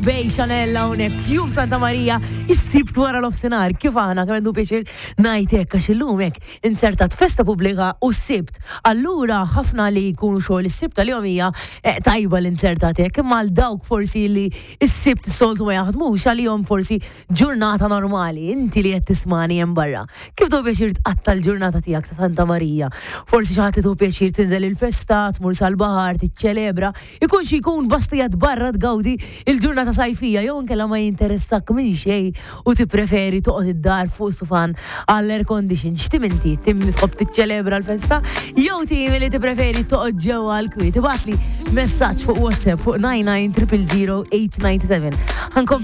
Obey Chanel hawnhekk f'jum Santa Marija is-Sibt wara l-ofsinhar. Kif aħna kemm għandu pjaċir ngħid hekk għax illum hekk inzertat festa pubblika u s-Sibt. Allura ħafna li jkunu xogħol is-Sibt għalihom hija eh, tajba l-inzertat hekk, imma għal dawk forsi li s-Sibt soltu ma jaħdmux għalihom forsi ġurnata normali, inti li qed tismani hemm barra. Kif tieħu pjaċir tqatta' l-ġurnata tiegħek ta' Santa Marija? Forsi xi ħadd li tieħu pjaċir tinżel il-festa, tmur sal-baħar, tiċċelebra, ikun xi jkun basta qiegħed barra tgawdi l-ġurnata sajfija jew inkella ma jinteressak minn xejn u tippreferi toqgħod id-dar fuq sufan għall-air condition. X'tim inti? Tim li tħobb tiċċelebra l-festa jew tim li tippreferi toqgħod ġewwa għall-kwiet? Ibgħatli messaġġ fuq WhatsApp fuq 99 000 897. Ħankompli.